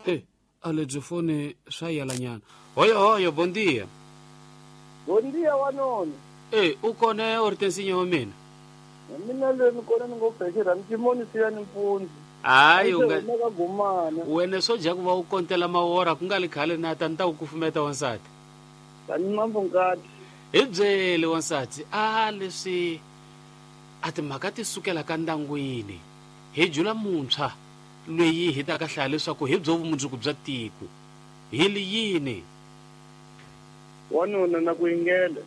E a lebyi foni swa yalanyana. Hoyo hoyo, bon dia. Bon dia wanona. E u kona Hortensinya wa mina? Mina leyi ni kona ni ngo fexera ni timoni siya ni mpundzu. Hayi u nga ka gumana. Wena swo dya ku va u kontela mawora ku nga li khale na ta ni ta ku kufumeta wansati. Tani mambo ngati. Hi byele wansati a leswi a timhaka ti sukela ka ndyangwini hi jula muntshwa loyi hi ta ka hlaya leswaku hi byo vumundzuku bya tiko hi li yini. Wanuna na ku yingela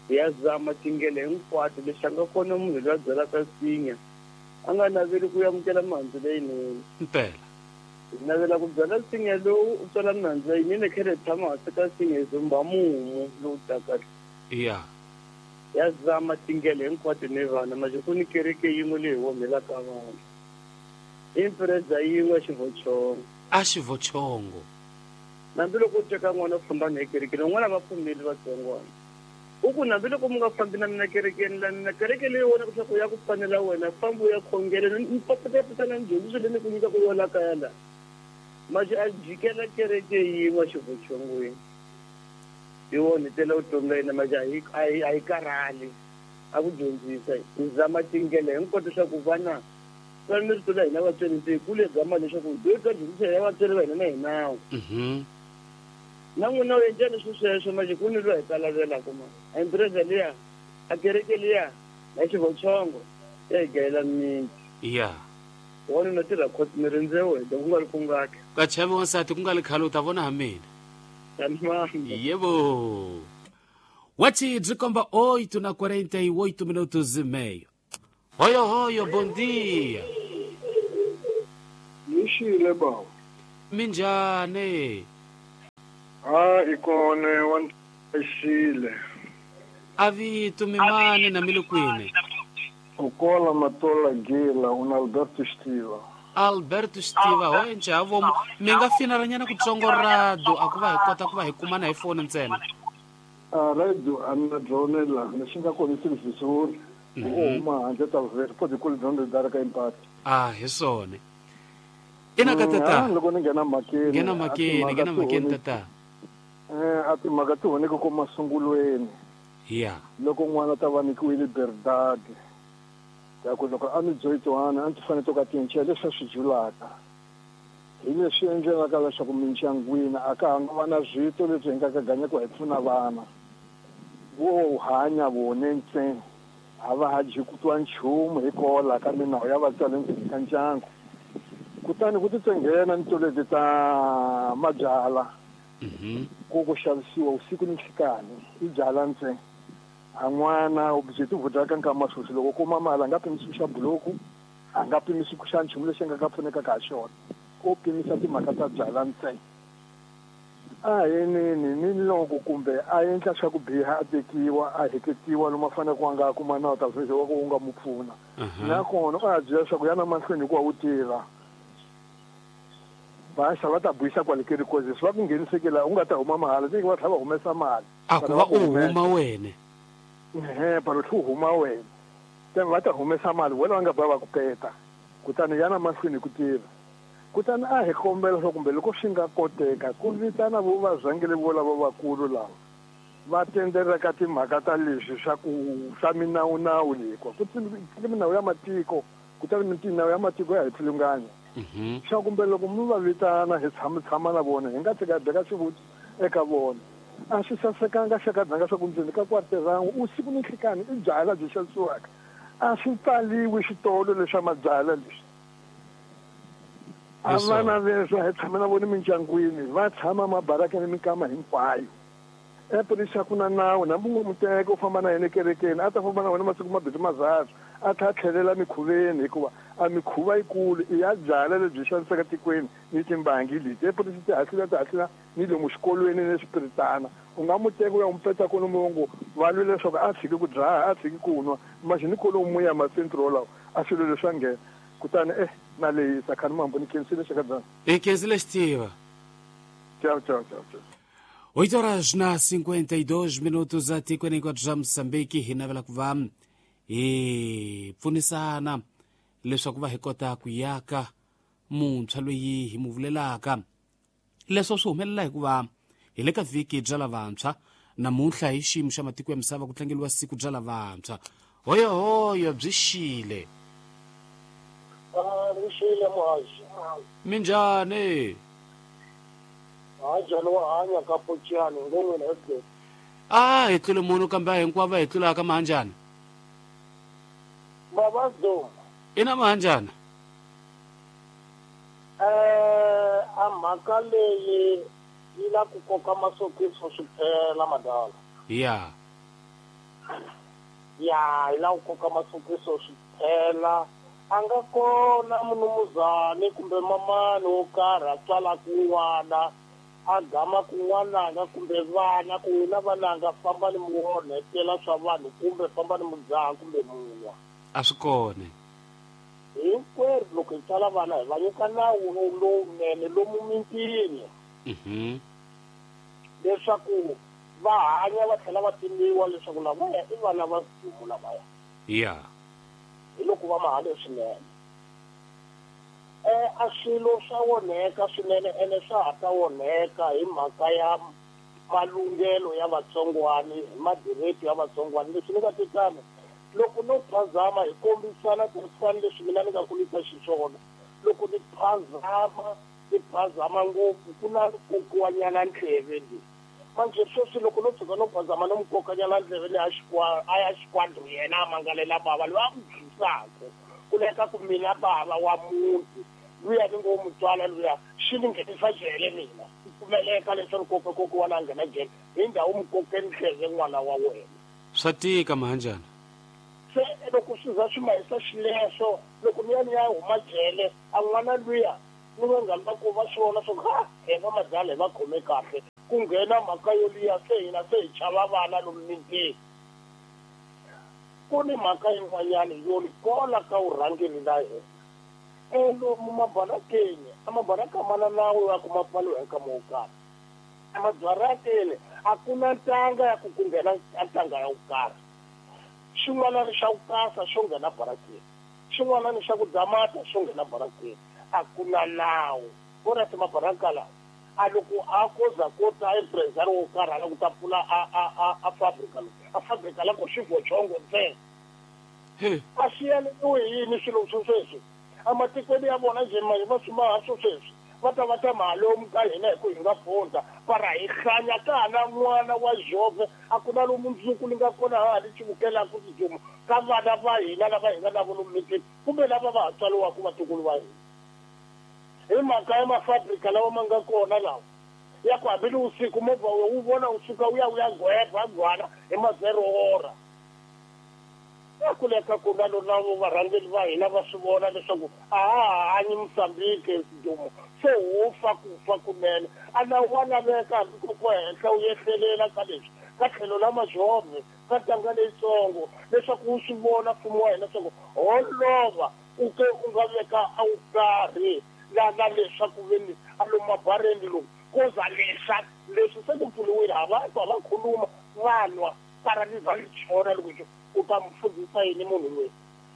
ya zama tingele hinkwato lexi a nga kona munhu loyi a byalaka nsinya a nga naveli ku amukela mihandzu leyinene. Mpela. Hi navela ku byala nsinya lowu u tswala mihandzu leyinene khele hi tshama hansi ka nsinya hi zumba mumu lowu taka. Ya. Ya zama tingele hinkwato ni vana manje ku ni kereke yin'we leyi hi womelaka vana. Impreza yin'we xivochongo. A xivochongo. Nambi loko u teka n'wana u famba na ekerekeni van'wana va pfumeli vatsongwana. U ku nambi loko mi nga fambi na mina kerekeni la mina kereke leyi vonaka leswaku ya ku fanela wena famba u ya khongela ni patapatana ni dyondziso leyi ni ku nyikaka yona kaya la. Manje a jikela kereke yin'we xivochongweni. Yi onhetela vutomi bya yena manje a yi karhali a ku dyondzisa. Hi zama tindlela hinkwato leswaku vana va ni rito la hina vatswari se hi kule gama leswaku hi ta dyondzisa hina vatswari va hina na hi nawu. Na n'wina u endla leswi sweswo manje ku ni loyi hi kalavelaka ma a impreza liya a kereke liya na xivochongo ya hi gayela miti. Ya. Wanuna tirha khoti ni rindze wena ku nga ri ku ngaki. Ka chavi wansati ku nga li khale u ta vona ha mina. Tanimambo. Yebo. Wathi byi komba 8 na 48 minutos e meio. Hoyo hoyo, bom dia. Nixile baba. Minjhani? Ha ikone wa xile. A vito mimani na mi le kwini? Ukola Matola Gila una Alberto Stiva. Alberto Stiva hoye njhavo mi nga finalanyana kutsongo radio a ku va hi kota ku va hi kumana hi foni ntsena. A radio a ni na byona la lexi nga kona i televhizori. U huma handle ta vhele po dikolo dyondzo dara ka impact. A hi swona. Ina ka tata. Loko ni nghena mhakeni. Nghena mhakeni, nghena mhakeni tata. A timhaka ti honeke ko masungulweni. Ya. Loko n'wana ta va nyikiwile liberdade. Ya ku loko a ni dzoyitwana a ndzi fanele to ka tinche leswi a swi julaka. Hi leswi endlelaka leswaku mindyangwini a ka ha nga va na zwito leswi hi nga ka ganyaka hi pfuna vana. Vo hanya vone ntsena. A va ha dyi ku twa nchumu hi kola ka minawu ya vatswari endzeni ka ndyangu. Kutani ku titsenghena ni toleti ta mabyala ku ku xavisiwa usiku ni nhlikani i byala ntsena. A n'wana u byi ti vutaka nkama sweswi loko kuma mali a nga pimisi ku xa buloku, a nga pimisi ku xa nchumu lexi a nga ka pfunekaka ha xona. O pimisa timhaka ta byala ntsena. A hi nini ni loko kumbe a endla swa ku biha a tekiwa a heketiwa lomu a fanele ku a nga kuma nawu ta sweswi wa ku wu nga mu pfuna. Nakona u a byela leswaku yana mahlweni hikuva wu tirha. Va xa va ta buyisa kwale kerekeni leswi va ku ngheniseke laha u nga ta huma mahala se va tlhela va humesa mali. A ku va u huma wena. Ehe, palo tlhe u huma wena. Then va ta humesa mali vona va nga ba va ku peta. Kutani yana mahlweni hi ku tirha. Kutani a hi kombela leswaku kumbe loko swi nga koteka ku vitana vo vazangele vo lava vakulu lava va tendelaka timhaka ta leswi swa ku swa minawunawu leyi ku ku minawu ya matiko kutani minawu ya matiko ya hi pfilunganya. Swa kumbe loko mi va vitana hi tshama tshama na vona hi nga tshika hi beka xivutiso eka vona. A swi sasekanga xa ka dzanga swa ku ndzeni ka kwarterangu usiku ni nhlikani i byala byi xavisiwaka. A swi pfaliwi xitolo leswa mabyala leswi. A vana leswi hi tshama na vona mindyangwini va tshama mabarakeni minkama hinkwayo. Epolisi ku na nawu nambi u n'wi teka u famba na yena ekerekeni a ta famba na wena masiku mabirhi mazathu a tlhela a tlhelela mikhuveni hikuva a mikhuva yikulu i ya byala lebyi xanisaka tikweni ni timbangi leti. Epolisi ti hahlula ni lomu xikolweni ni swipiritana. U nga mu teka u ya n'wi peta kona mongo va lwela leswaku a tshiki ku dzaha a tshiki ku nwa manje ni kolomu ya masentro lawa a swilo leswi swa nghena. Kutani na lehisa khani mambo ni khensile xakadzana. Hi khensile xitiva. Ciao ciao ciao ciao. 8 horas na 52 minutos atikweni hinkwabyo swa Mozambique hi navela ku va hi pfunisana leswaku va hi kota ku yaka Muntshwa loyi hi mu vulelaka. Leswo swi humelela hikuva hi le ka vhiki bya lavantshwa. Namuntlha hi xiyimo xa matiko ya misava ku tlangeriwa siku bya lavantshwa. Hoyohoyo byi xile. Ri xile muhaxi. Minjhani? Njhani wa hanya ka Pocani ngon'wini Edgar? A hi tlule munhu kambe a hinkwavo hi tlulaka mahanjana. Baba Dom. Ina mahanjana. A mhaka leyi yi la ku koka masokiso swi phela madala. Ya. Ya, yi la ku koka masokiso swi phela. A nga kona munumuzani kumbe mamani wo karhi a tswalaka n'wana a gama ku n'wananga kumbe vana ku n'wina vananga fambani mi onhetela swa vanhu kumbe fambani mi dzaha kumbe munwa. A swi kona. Hinkwerhu loko hi tswala vana hi va nyika nawu lowunene lomu mitini. Leswaku va hanya va tlhela va tiviwa leswaku lavaya i vana va Mfumo lavaya. Ya. Hi loko va mahale swinene. A swilo swa onheka swinene ene swa ha ta onheka hi mhaka ya malunghelo ya vatsongwani, hi madireto ya vatsongwani. Leswi ni nga titano loko no phazama hi kombisana tirhisana leswi mina ni nga kulisa xiswona. Loko ni phazama ngopfu ku na kokiwanyana ndleve leyi. Manje sweswi loko no tshuka no phazama no mukokanyana ndleve leyi a ya xikwandro yena a mangalela bava loyi a n'wi dlisaka. Ku leka ku mina bava wa muti luya ni ngo mutswala luya xi ni nghenisa jele mina. Ku pfumeleka leswaku koka kokiwana a nghena jele hi ndhawu mukoke ndleve n'wana wa wena. Swa tika mahanjana. Se loko swi za swi mahisa xileswo loko ni ya ni ya huma jele a n'wana luya ni vanghani va ku va swi vona swa ku ha hi va madala hi va khome kahle ku nghena mhaka yo liya se hina se hi chava vana lomu mitini. Ku ni mhaka yin'wanyana yo ni kola ka vurhangeri la hina. Lomu mabarakeni a mabaraka mana nawu ya ku ma pfaliwa hi nkama wo karhi. Emabarakeni a ku na ntanga ya ku ku nghena ntanga ya ku karhi. Xin'wana ni xa ku kasa xo nghena barakeni. Xin'wana ni xa ku damata xo nghena barakeni. A ku na nawu. Vona ti mabaraka lawa. A loko a koza ko ta empresario wo karhi a lava ku ta pfula a fabrika lowu. A fabrika la ko xivhochongo ntsena. A swi yaleriwi hi yini swilo swo sweswi? Ematikweni ya vona njhe manje va swi maha swo sweswi. Va ta va ta mahalomu ka hina hi ku hi nga fundza. Para hi hlanya ka ha na n'wana wa Jove a ku na lomu mundzuku ni nga kona ha ha ni xivukelaka swidumo ka vana va hina lava hi nga na vona mitini kumbe lava va ha tswariwaka vatukulu va hina. Hi mhaka ya mafabrika lawa ma nga kona lawa ya ku hambi ni usiku movha wu vona wu suka wu ya wu ya gweba gwala hi ma-0 hora. Ya ku leka ku na lona varhangeri va hina va swi vona leswaku a ha hanyi Mozambique swidumo se ho fa ku fa kunene. A na wa laveka hambi ku ku henhla wu yehlelela ka leswi ka tlhelo la majove ka ntanga leyitsongo leswaku wu swi vona mfumo wa hina leswaku ho lova u ke u nga veka a wu karhi la na leswaku veni a lomu mabareni lomu koza leswa leswi se ku pfuriwile a va twa va khuluma va nwa para ni za ni chona loko u ta mu fundisa yini munhu loyi.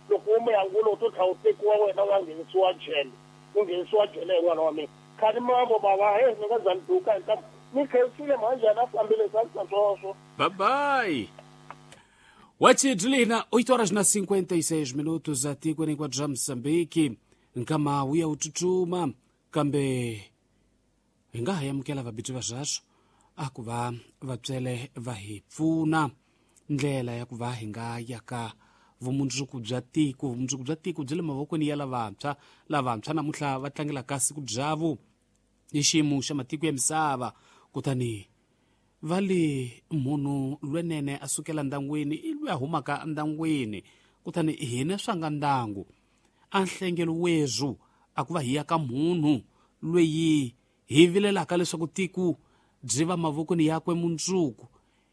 Loko wo mu yangula u to tlhela u tekiwa wena u ya nghenisiwa jele. U nghenisiwa jele hi n'wana wa mina. Khani mambo bava he ni nga za ni duka hi ntamu. Ni khensile mhanjani a fambile sa swoswo. Bye bye. Wachidlina 8 horas na 56 minutos atikweni kwa bya Mozambique. Nkama wu ya wu tsutsuma kambe hi nga ha amukela vabitsi va swaswo a ku va vatswele va hi pfuna ndlela ya ku va hi nga yaka vumundzuku bya tiko. Vumundzuku bya tiko byi le mavokweni ya lavantshwa. Lavantshwa namuntlha va tlangelaka siku byavo hi xiyimo xa matiko ya misava. Kutani va le munhu lwenene a sukela ndangwini i loyi a humaka ndangwini. Kutani hina swa nga ndangu a nhlengelo wezwu a ku va hi ya ka munhu loyi hi vilelaka leswaku tiko byi va mavokweni yakwe mundzuku.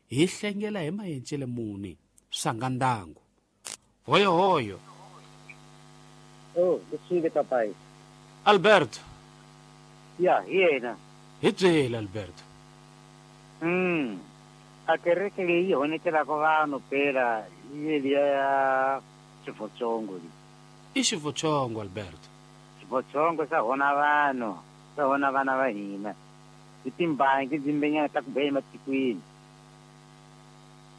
Hi hlengela hi mayencele muni swa nga ndangu. Hoyo hoyo. Oh, leswile papai. Alberto. Ya, hi yena. Hi byele Alberto. A kereke leyi honetelaka vanhu phela hi liya ya Xivotsongo leyi. I Xivotsongo Alberto. Swivotsongo swa hona vanhu, swa hona vana va hina. Hi timbangi dzimbenyana ta ku beya ematikweni.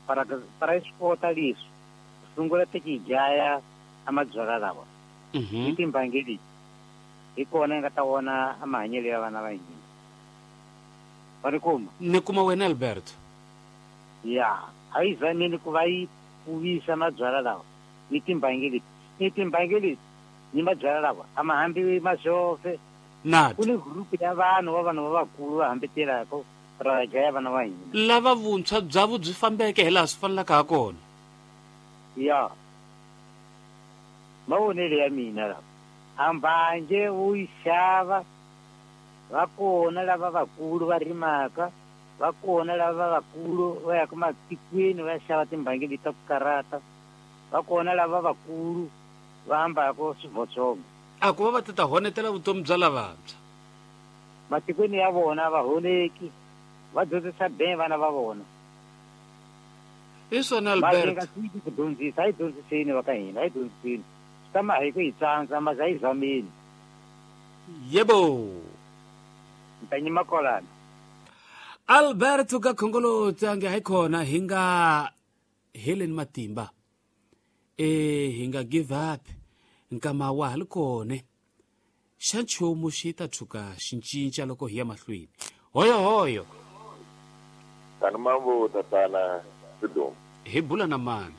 Para para swi kota leswi. Sungula ti dlaya a mabyalwa lawa. Hi timbangi leti. Hi kona hi nga ta vona a mahanyelo ya vana va hina. Wa ni kuma? Ni kuma wena Alberto. Ya, a yi zameni ku va yi pfuvisa mabyalwa lawa ni timbangi leti. Ni timbangi leti ni mabyalwa lawa a ma hambi masofe. Nat. Ku ni group ya vanhu va vanhu va vakulu va hambetelaka ra dlaya vana va hina. Lava vuntshwa bya byi fambeke hi laha swi fanelaka ha kona. Ya. Mavonelo ya mina lawa. A mbanje u yi xava va kona lava vakulu va rimaka, va kona lava vakulu va yaka matikweni va ya xava timbangi leti ta ku karata, va kona lava vakulu va hambaka swivotsongo. A ku va va ti ta honetela vutomi bya lavantshwa. Matikweni ya vona va honeki, va dyondzisa be vana va vona. Hi swona Albert. Nga tshiki ku dyondzisa, a hi dyondziseni va ka hina, a hi dyondziseni. Swi ta ma hi ku hi tsandza, mas a hi zameni. Yebo. Ni ta nyima kwalano. Alberto ka Khongoloti ange hayi khona hi nga heleni matimba. Hi nga give up. Nkama wa ha li kone. Xa nchumu xi ta tshuka xi cinca loko hi ya mahlweni. Hoyo hoyo. Tani mambo tatana Sidomu. Hi bula na mani?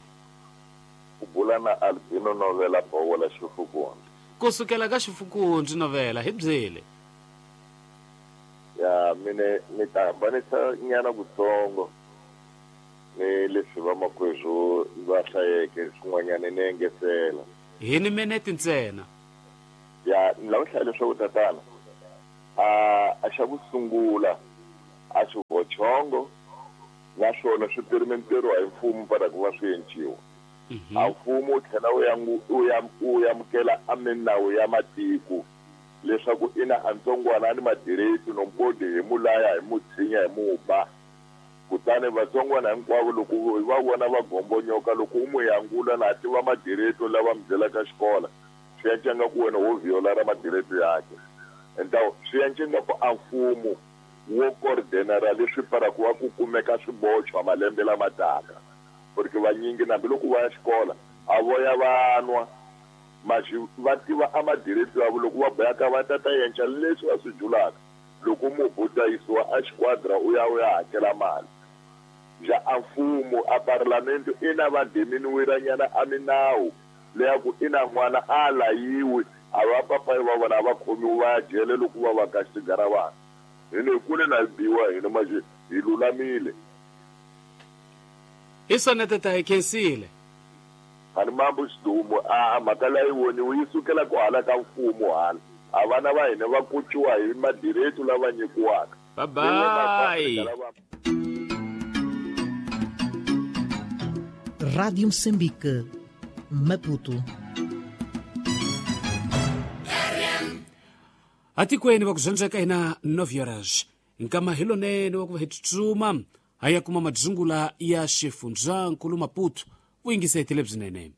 U bula na Albino Novela Bowola Xifukundzi. Ku sukela ka Xifukundzi Novela hi byele. Ya mine ni ta hambanisa nyana kutsongo ni leswi vamakwerhu va hlayeke swin'wanyana ni engetela. Hi ni minete ntsena. Ya ni lava hlaya leswaku tatana a xa ku sungula a xivochongo naswona swi perimenteriwa hi mfumo para ku va swi enciwa. A mfumo wu tlhela wu amukela a minawu ya matiko leswaku ina a ntsongwana ni madireti no mpodi hi mulaya hi mutshinya hi muba. Kutani vatsongwana hinkwavo loko va vona va gombonyoka loko u mu yangula na tiva madireto lava mi byelaka xikola swi ya ku wena wo viola ra madireto yakhe. Entawu swi ya ku a mfumo wo coordinara leswi para ku va ku kumeka swibochwa malembe lama taka. Porque vanyingi hambiloko va ya xikola a vo ya vanwa maxi va tiva a madireto yavo loko va boyaka va tata yenca leswi va swi julaka. Loko mubuta yisiwa a xiquadra u ya hakela mali. Ja a mfumo a parlamento ina va diminuiranyana a minawu leya ku ina n'wana a layiwi a va papayi va vona va khomiwa va ya jele loko va va ka xigara vana. Hina hi kule na biwa hina manje hi lulamile. Hi swona tata hi khensile. Ani mambo Sidumo a mhaka leyi voniwi yi sukela ku hala ka mfumo hala. A vana va hina va kuciwa hi madireto lava nyikiwaka. Bye bye. Rádio Moçambique, Maputo. Atikweni va ku zwandzeka hina 9 horas. Nkama hi lonene wa ku va hi tsutsuma ha ya kuma madzungula ya xifundzankulu Maputo. Vuyingiseti lebyinene.